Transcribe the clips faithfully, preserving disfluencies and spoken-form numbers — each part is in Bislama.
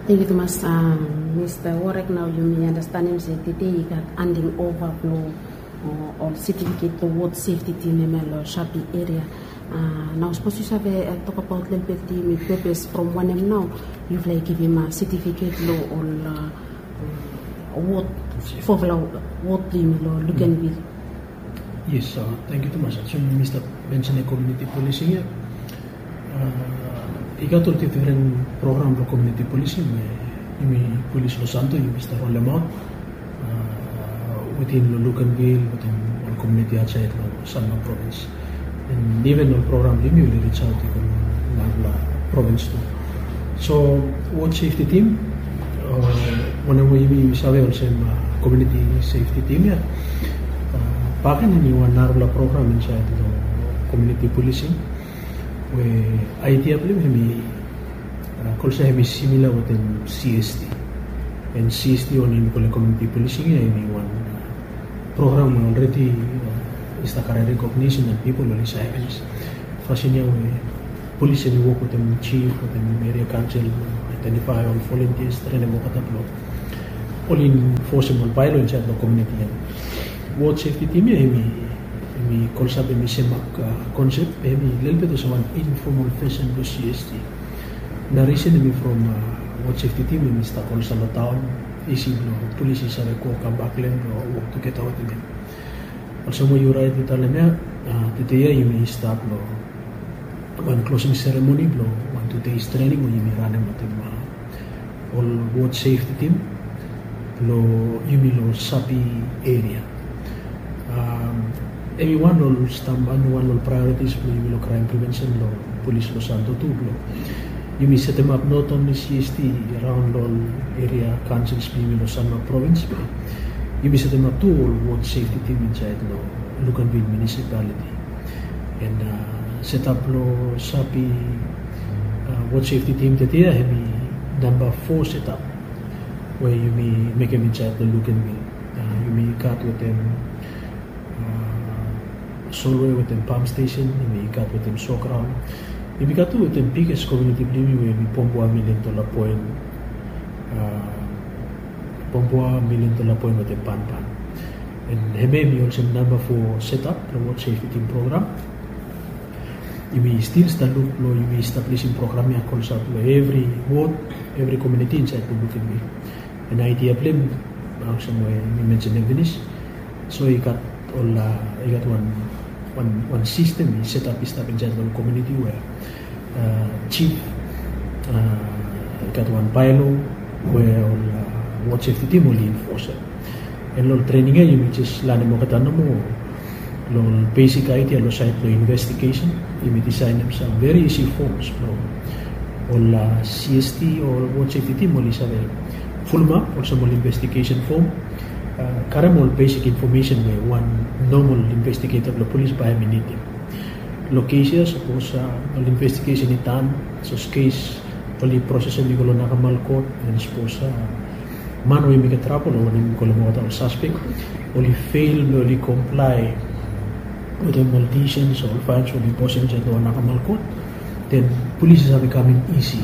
Thank you tumas, Mista Warek. Nao yumi anastanem se tede i gat handing ova blong ol setifiket long wod sefti tim hemia long Sapi eria. Nao sapos yu save tokabaot lelebet yumi pepes from wanem nao yufala i givim setifiket long ol wod, fofala wod blong yumi long Luganville. Yes, thank you tumas. As yumi stap mensenem komuniti polising ya, i gat ol difren program blong komuniti polising we yumi polis long Santo yumi stap rolemaot wetem long Luganville wetem ol komuniti ausait long Sanma provins. And even ol program blong yumi oli risaot i go long narafala provins tu. So wod sefti tim, wanem we yumi save olsem komuniti sefti tim ya, bakegen hemi wan narafala program insait long komuniti polising we aidia blong hem hemi kolsa hemi simila wetem CST. And CST wanem yumi kolem komuniti polising ya hemi wan program we already i stap karem recognition and pipol oli save pinis. Fasin ya we polis hemi wok wetem jif wetem eria kaonsel blong aedentifae ol volunteers, trenem olgeta blong oli enforcem ol baelo insait long komuniti ya. Wod sefti tim ya hemi kolsa be hemi sem mak konsep be hemi lelebet olsem wan informal fesen blong CST. Na risen hemi from wod sefti tim hemi stap kolsa long taon, isi blong polis i save go kambak long hem blong wok tugeta wetem hem. Olsem we yu rait long talem ya, tede ya yumi stap long wan klosing seremoni blong wan tu deis trening we yumi ranem wetem ol wod sefti tim blong yumi long Sapi eria. Hemi wan long ol stamba, hemi wan long ol praeoritis blong yumi long kraem prevensen long polis long Santo tu blong yumi setemap not only CST araon long ol eria kaonsels blong yumi long Sanma provins be yumi setemap tu ol wod sefti tim insait long Luganville munisipaliti. And setap blong Sapi wod sefti tim tede ya hemi namba fo setap we yumi mekem insait long Luganville. Yumi gat wetem Solway wetem pam stesen, yumi gat wetem Sograon. Yumi gat tu wetem biges komuniti blong yumi we hemi Pombua, Milion Dola Poen, Pombua, Milion Dola Poen wetem Panpan. And hemia hemi olsem namba fo setap blong wod sefti tim program. Yumi stil stap luk blong yumi establisim program ya kolsa blong evri wod, evri komuniti insait long Luganville. And aidia blong hem olsem we mi mensenem finis. So i gat ol, i gat wan, wan sistem i setap i stap insait long komuniti we jif i gat wan baelo we ol wod sefti tim oli enforcem. And long ol trening ya yumi jes lanem olgeta nomo long ol besik aidia long sait blong investigesen. Yumi disaenem sam veri isi foms blong ol CST o ol wod sefti tim oli save fulumap olsem ol investigesen fom, karem ol besik infomesen we wan nomol investigeta blong polis bae hemi nidim. Long kes ya sapos ol investigesen i dan, sapos kes oli prosesem i go long nakamal kot, and sapos man we i mekem trabol o wanem i kolem olgeta ol saspek oli fel blong oli komplae wetem ol disens o ol faens we oli imposem insait long ol nakamal kot, den polis i save kamem isi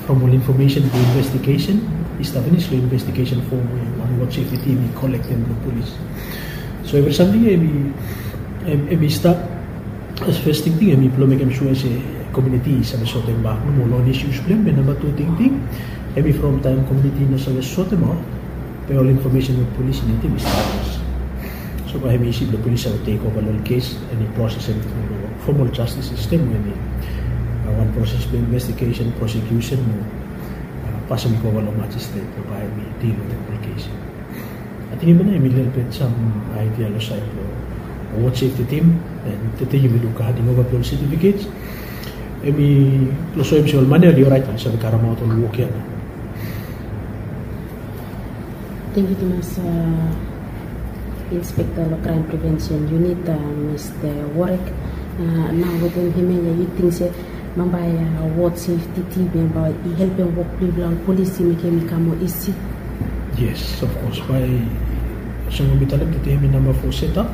from ol infomesen blong investigesen i stap finis long investigesen fom we wan wod sefti tim i kolektem blong polis. So evri samting ya hemi stap as fes tingting hemi blong mekem sua se komuniti i save sotem bak nomo long ol isus blong hem. Be namba tu tingting hemi from taem komuniti i no save sotemaot be ol infomesen we polis i nidim i stap finis. So bae hemi isi blong polis save tekova long ol kes and i prosesem long fomol jastis sistem we hemi wan proses blong investigesen, prosekusen mo pasem i go ova long majistret blong bae hemi dil wetem ol kes. Ating hemia nao hemi lelebet sam aidia long sait blong wod sefti tim. And tede yumi luk handing ova blong ol setifikets. Hemi long soem se ol man ya oli oraet, oli save karemaot ol wok ya nao. Tangkiu tumas, Inspekta long Kraem Prevensen Unit, Mista Warek. Nao wetem hemia ya yu ting se bambae wod sefti tim ya bae i helpem wok blong yufala ol polis i mekem i kam moa isi? Yes, of course. Bae olsem we mi talem, tede hemi namba fo setap.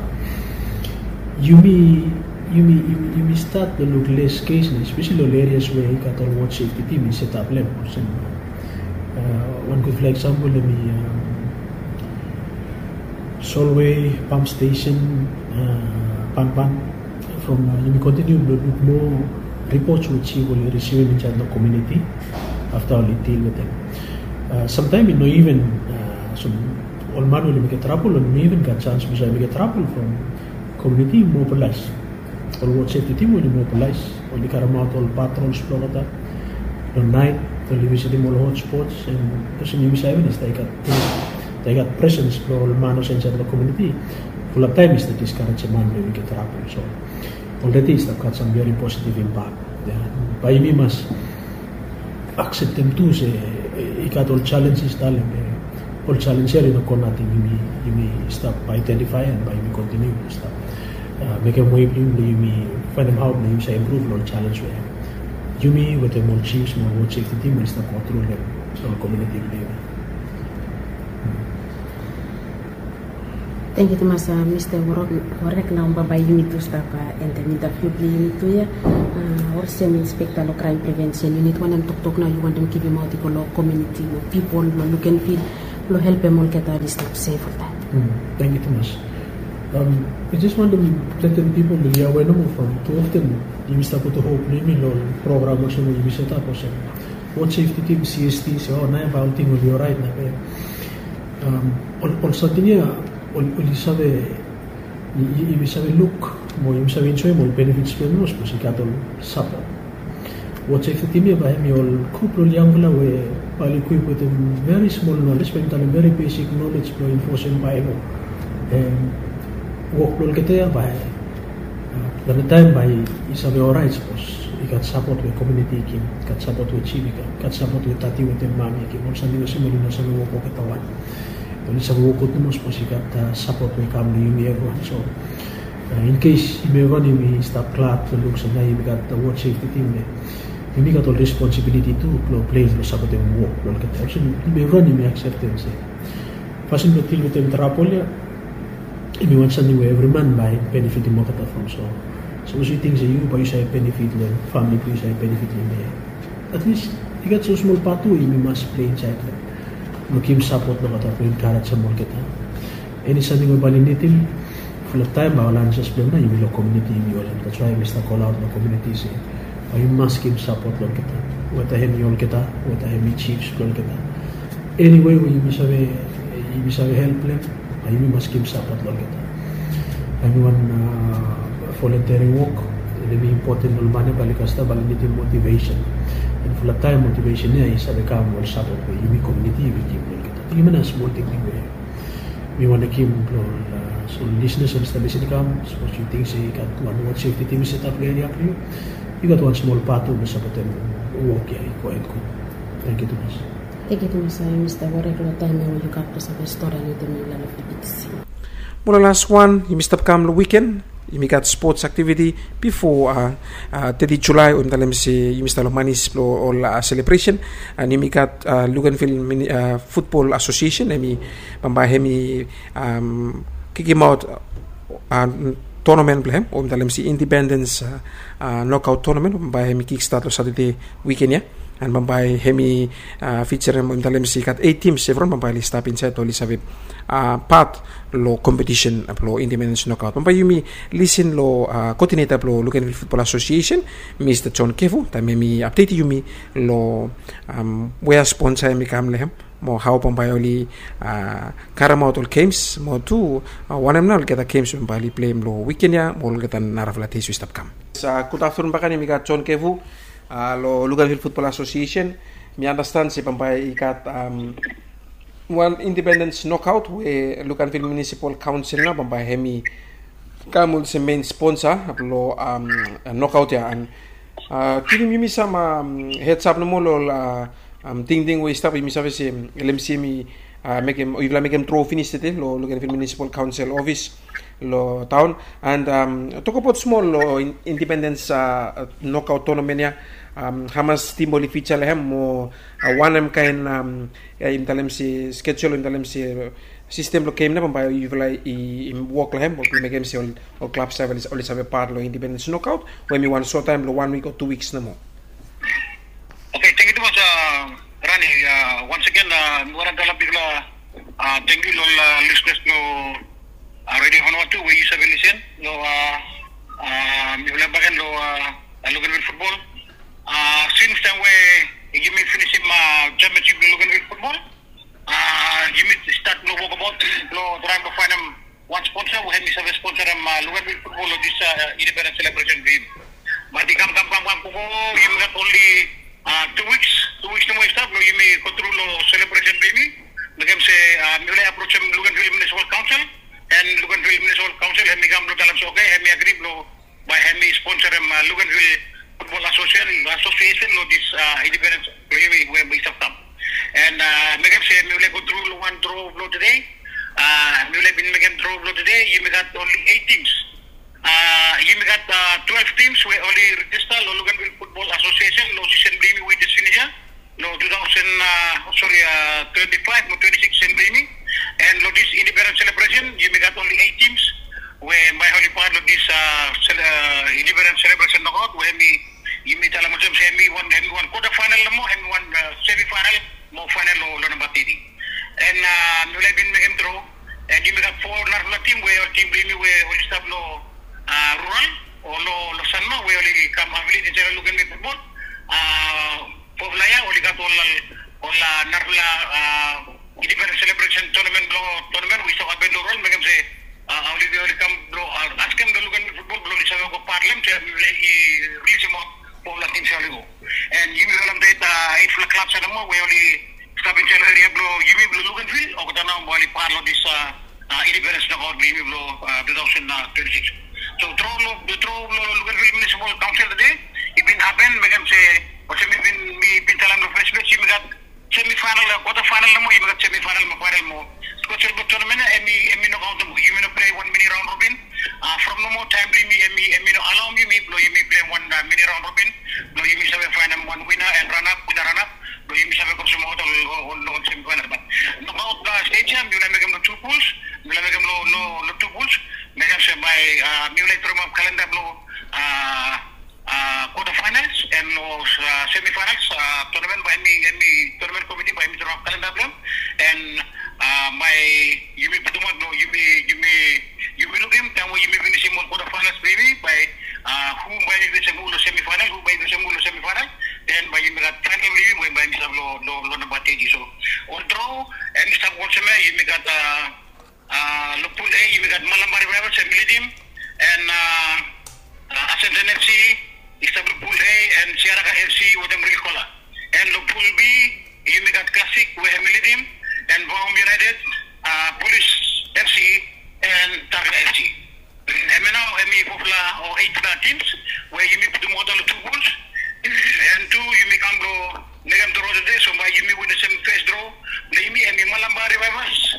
Yumi, yumi, yumi stat long luk les kes nao, espeseli ol erias we i gat ol wod sefti tim i setap long hem. Olsem Wan gudfala eksampol hemi Solway Pump Station, Panpan. From yumi kontiniu blong luk moa ripots we jif oli risivim insaed long komuniti afta oli dil wetem. Samtaem i no iven, ol man we oli mekem trabol oli no iven gat sans blong save mekem trabol from komuniti i mobilais. Ol wod sefti tim oli mobilais, oli karemaot ol patrols blong olgeta long naet, oli visitim ol hotspots. Olsem yumi save, i stap i gat presens blong ol man olsem insaed long komuniti. Fulap taem i stap diskarejem man blong yumi gat trabol. So olredi i stap gat sam veri positiv impak. Bae yumi mas akseptem tu se i gat ol jalenjes talem. Ol jalenjes ya i no go nating. Yumi stap aedentifae and bae yumi kontiniu stap mekem wei blong yumi blong yumi faenem hao blong yumi save impruv long ol jalens we yumi wetem ol jifs mo ol wod sefti tim oli stap go tru long ol komuniti blong yumi. Tangkiu tumas Mista Warek. Nao bambae yumi tu stap endem intaviu blong yumi tu ya. Olsem inspekta long kraem prevensen yunit, wanem toktok nao yu wantem givimaot i go long komuniti mo pipol long Lukenvil blong helpem olgeta oli stap sef oltaem? Tangkiu tumas. Mi jes wantem letem pipol oli awe nomo from tu often yumi stap putum hop blong yumi long program olsem we yumi setap olsem wod sefti tim, CST, se o naoia bae olting oli oraet nao be ol samting ya oli save, yumi save luk mo yumi save enjoem ol benefits blong hem, sapos i gat ol sapot. Wod sefti tim ya bae hemi ol grup blong ol yangfala we bae oli ekwip wetem veri smol nolej, bae mi talem veri besik nolej blong enfosem baelo. Wok blong olgeta ya bae long taem bae i save oraet sapos i gat sapot we komuniti i givim, i gat sapot we jif i givim, i gat sapot we dadi wetem mami i givim. Ol samting olsem oli no save wok olgeta wan. Oli save wok gud nomo sapos i gat sapot we i kam long yumi evriwan. So in case yumi evriwan yumi stap glad long luk se nao yumi gat wod sefti tim ya, yumi gat ol responsibiliti tu blong plei blong sapotem wok blong olgeta. Olsem yumi evriwan yumi akseptem se fasin blong dil wetem trabol ya hemi wan samting we evri man bae i benefitim olgeta from. So sapos yu ting se yu bae yu save benefit long hem, famili blong yu save benefit long hem ya, at least i gat sam smol pat tu we yumi mas plei insaed long hem blong givim sapot long olgeta, blong enkarejem olgeta. Eni samting we bae oli nidim, fulap taem bae ol ansas blong hem nao yumi long komuniti yumi olsem. That's why mi stap kolaot long komuniti se bae yumi mas givim sapot long olgeta, weta hemi olgeta, weta hemi jifs blong olgeta. Eni wei we yumi save, yumi save help long hem, bae yumi mas givim sapot long olgeta. Hemi wan voluntary wok, hemi impoten long ol man ya bae oli kasem, bae oli nidim motivesen. And fulap taem motivesen ya i save kam long ol sapot we yumi komuniti yumi givim long olgeta. Ating hemia nao smol tingting we mi wantem givim long ol, ol lisenas we oli stap lisin i kam. Sapos yu ting se i gat wan wod sefti tim i setap long eria blong yu, yu gat wan smol pat tu blong sapotem wok ya i gohed gud. Tangkiu tumas. Tangkiu tumas Mista Warek long taem ya we yu gat blong save stori wetem yumi long F B T C. Mo long las wan, yumi stap kam long wiken, yumi gat spots aktiviti bifo teti Julae, we mi talem se yumi stap long manis blong ol selebresen. And yumi gat Luganville Futbol Asosiesen, hemi bambae hemi kikimaot tonamen blong hem, we mi talem se Indipendens nokaot tonamen, bambae hemi kikstat long Satade wiken ya. And bambae hemi fijarem, we mi talem se i gat eit tims evriwan bambae oli stap insaed, oli save pat long kompetisen blong Indipendens nokaot. Bambae yumi lisin long koodineta blong Luganville Futbol Asosiesen, Mista John Kevu, taem hemi apdetem yumi long wea sponsa hemi kam long hem, mo hao bambae oli karemaot ol gems, mo tu wanem nao olgeta gems bambae oli pleim long wiken ya mo olgeta narafala dei we i stap kam. Gud aftenun bakegen, yumi gat John Kevu long Luganville Futbol Asosiesen. Mi andastan se bambae i gat wan Indipendens nokaot we Luganville Munisipol Kaonsel nao bambae hemi kam olsem mein sponsa blong nokaot ya. And givim yumi sam heads up nomo long ol tingting we i stap, yumi save se LMC hemi mekem, yufala mekem dro finis tede long Luganville Munisipol Kaonsel ofis long taon. And tokbaot smol long Indipendens nokaot tonamen ya, hamas tim oli fija long hem, mo wanem kaen, yumi talem se skejul, yumi talem se sistem blong gem nao bambae yufala i wok long hem blong mekem se ol klab save, oli save pat long Indipendens nokaot, we hemi wan sot taem blong wan wik o tu wiks nomo. Oke, tangkiu tumas. Ani, a, once again, a, mi wantem talem bigfala, a, tangkiu lo ol, a, listeners lo, a, Radio Vanuatu we yu save listen lo, a, a, mifala bakegen lo, a, a, Luganville football. A, since taem we yumi finisim, a, championship lo Luganville football, a, yumi stat lo wokbaot lo traem lo faenem wan sponsor we hemi save sponsorem, a, Luganville football lo this, a, independence celebration blong yumi. Bat i kam, kam, kam, kam, go, go, yumi gat only, a, two weeks, two weeks nomo i stap lo yumi go tru lo celebration blong yumi. Mekem se, a, mifala i aprojem Luganville Municipal Council, and Luganville Municipal Council hemi kam lo talem se, okay, hemi agri lo bae hemi sponsorem, a, Luganville Football Association, Association lo this, a, independence blong yumi we i stap kam. And, a, mekem se mifala i go tru lo wan draw lo tede. A, mifala i bin mekem draw lo tede, yumi gat only eight teams. A, yumi gat, a, twelve teams we oli register lo Luganville Football Association lo season blong yumi we i jes finis ia, lo two thousand, a, sorry, a, twenty-five mo twenty-six season blong yumi. And lo this independence celebration, yumi gat only eight teams we bae oli part lo this, a, cele-, a, independence celebration knockout we hemi, yumi talem olsem se hemi wan, hemi wan quarter final nomo, hemi wan, a, semi final mo final lo, lo namba teti. And, a, mifala i bin mekem draw, and yumi gat fo narafala team we ol team blong yumi we oli stap lo, a, rural o lo, lo Sanma we oli kam affiliate insaed lo Luganville football. A, fofala ia oli gat ol, ol, a, narafala, a, independence celebration tournament blo, tournament we i stap hapen lo rural, mekem se, a, oli, oli kam blo, a, askem lo Luganville football blo oli save go part lo hem se mifala i rilisim ol fofala teams ia oli go. And yumi wantem talem se, a, eitfala clubs ia nomo we oli stap insaed lo eria blo yumi blo Luganville, olgeta nao bae oli part lo this, a, a, independence knockout blo yumi blo, a, two thousand twenty-six. So draw lo, draw lo Luganville Municipal Council tede i bin hapen, mekem se olsem mi bin, mi bin talem lo fes ples, yumi gat semi final, a, quarter final nomo, yumi gat semi final mo final mo. Bikos olgeta tournament ia hemi, hemi no kaontem, yumi no plei wan mini round robin. A, from nomo taem blo yumi, hemi, hemi no alaoem yumi blo yumi plei wan, a, mini round robin blo yumi save faenem wan winner and runner up, winner runner up blo yumi save go olsem olgeta lo, lo, lo semi final. Bat knockout, a, stage ia mifala i mekem lo two pools, mifala i mekem lo, lo, lo two pools. Mekem se bae, a, mifala i draw ap kalenda blo, a, a, quarter finals and lo, a, semi finals, a, tournament bae hemi, hemi tournament committee bae hemi draw ap kalenda blo hem. And, a, bae yumi putum aot blo yumi, yumi, yumi lukim taem we yumi finisim ol quarter finals blo yumi, bae, a, hu bae i fesem hu lo semi final, hu bae i fesem hu lo semi final. Then bae yumi gat final blo yumi we bae hemi stap lo, lo, lo namba teti. So ol draw hemi stap olsem ia, yumi gat, a, A, lo Pool A yumi gat Malampa Revivals hemi lidim, and, a, a, Ascension F C i stap lo Pool A, and Siaraka F C wetem Real Kola. And lo Pool B yumi gat Classic we hemi lidim, and Vaom United, a, Police F C, and Tarka F C. Hemia nao hemi fofala o eitfala teams we yumi putum olgeta lo tu pools. And tu yumi kam blo mekem draw tede, so bae yumi winim olsem fes draw blo yumi hemi Malampa Revivals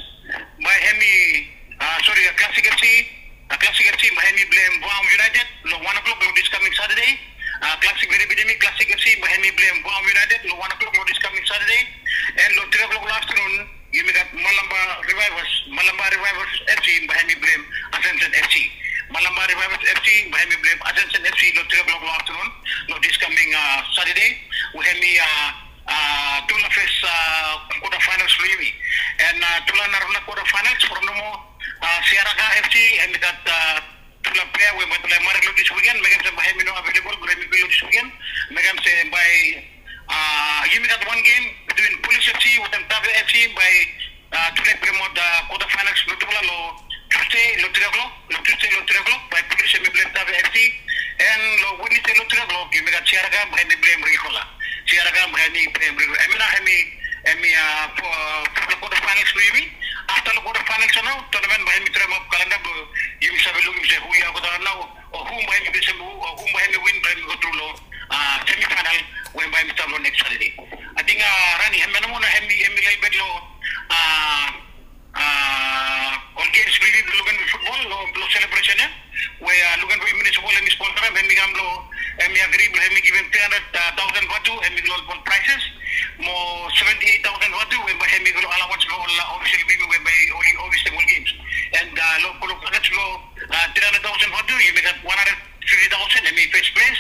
bae hemi, a, sori, a, Classic F C, a, Classic F C bae hemi blem Vaom United lo wan o'clock lo this coming Saturday. A, Classic, viri bitim mi, Classic F C bae hemi blem Vaom United lo wan o'clock lo this coming Saturday. And lo tri o'clock lo aftenun yumi gat Malampa Revivals, Malampa Revivals F C bae hemi blem Ascension F C. Malampa Revivals F C bae hemi blem Ascension F C lo tri o'clock lo aftenun lo this coming, a, Saturday. We hemi, a, a, tufala fes, a, quarter finals blo yumi. And, a, tufala narafala quarter finals from nomo, a, Siaraka F C hemi gat, a, tufala plea we bae tufala i mared lo this weekend, mekem se bae hemi no available blo hemi plei lo this weekend. Mekem se bae, a, yumi gat wan game between Police F C wetem Tave F C bae, a, tufala i plemaot, a, quarter finals blo tufala lo Tuesday lo tri o'clock, lo Tuesday lo tri o'clock bae Police hemi blem Tave F C. And lo Wednesday lo tri o'clock yumi gat Siaraka bae hemi blem Real Kola. Siaraka bae hemi blem Real Kola. Hemia nao hemi, hemi, a, fo-, a, fofala quarter finals blo yumi. Afta lo quarter finals ia nao tournament bae hemi draw ap kalenda blo yumi save lukim se hu ia olgeta nao, o hu bae hemi, o hu bae hemi win bae hemi go tru lo, a, semi final we bae hemi stap lo next Saturday. Ating, a, Rani, hemia nomo nao hemi, hemi lelebet lo, a, a, ol games blo yumi blo Luganville football lo, lo celebration ia we, a, Luganville Municipal hemi sponsorem, hemi kam blo, hemi agri blo hemi givim three hundred thousand vatu hemi go lo ol prizes, mo seventy-eight thousand vatu we bae hemi go lo allowance blo ol, a, official blo yumi we bae oli officiatem ol games. And, a, lo, lo package blo, a, three hundred thousand vatu yumi gat one hundred fifty thousand hemi first place,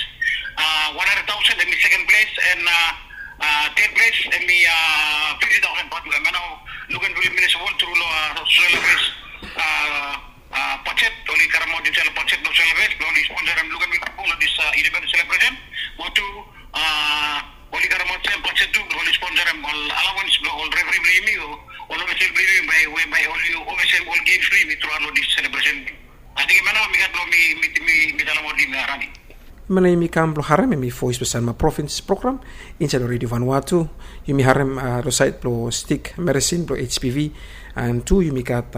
a, one hundred thousand hemi second place, and, a, a, Ted ples em i fifti taosen bat, em nao luken bilip minisipal tru long sosel ples. Bajet oli karemaot insait long bajet blong sosel ples blong oli sponsorem luken bilip long dis independens selebresen. Mo tu oli karemaot sem bajet tu blong oli sponsorem ol alawens blong ol refri blong yumi o ol ofisel blong yumi bai we bai oli ofisem ol gems blong yumi truaot long dis selebresen. Ating em nao mi gat blong mi mi mi mi talemaot yumi arani. Mena yumi kam blong harem em i voes blong sanma provins program insait long redio vanua tu. Yumi harem long sait blong stik meresin blong hpv. An tu yumi gat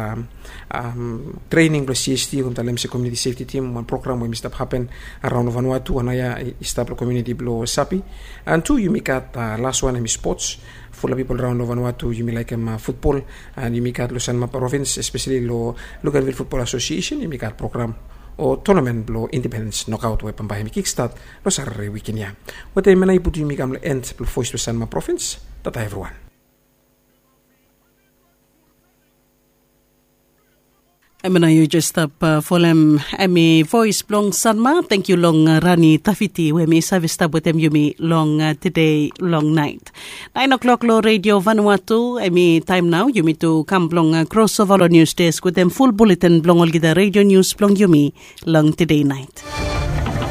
trening blong cst we mi talem se komiuniti sefti tim wan program we mi stap hapen araon long vanua tu anaia i stap long komiuniti blong sapi. An tu yumi gat laswan em i spots. Fulap pipol raon long vanua tu yumi laikim futbol. An yumi gat long sanma provins espeseli long luganvil futbol asosiesen yumi gat program o tonamen blong independens nokaot we bambae hem i kikstat long sarare wiken ya. Wetem em ya nao i putum yumi kam long en blong voes blong sanma provins. Tata evriwan. Em ya nao yu jes stap folem em i voes blong sanma. Tangkiu long rani tafiti we em i save stap wetem yumi long tede long nait. Naen oklok long redio vanua tu em i taem nao yumi tu kam blong krosova long nius desk wetem ful buletin blong olgeta redio nius blong yumi long tede nait.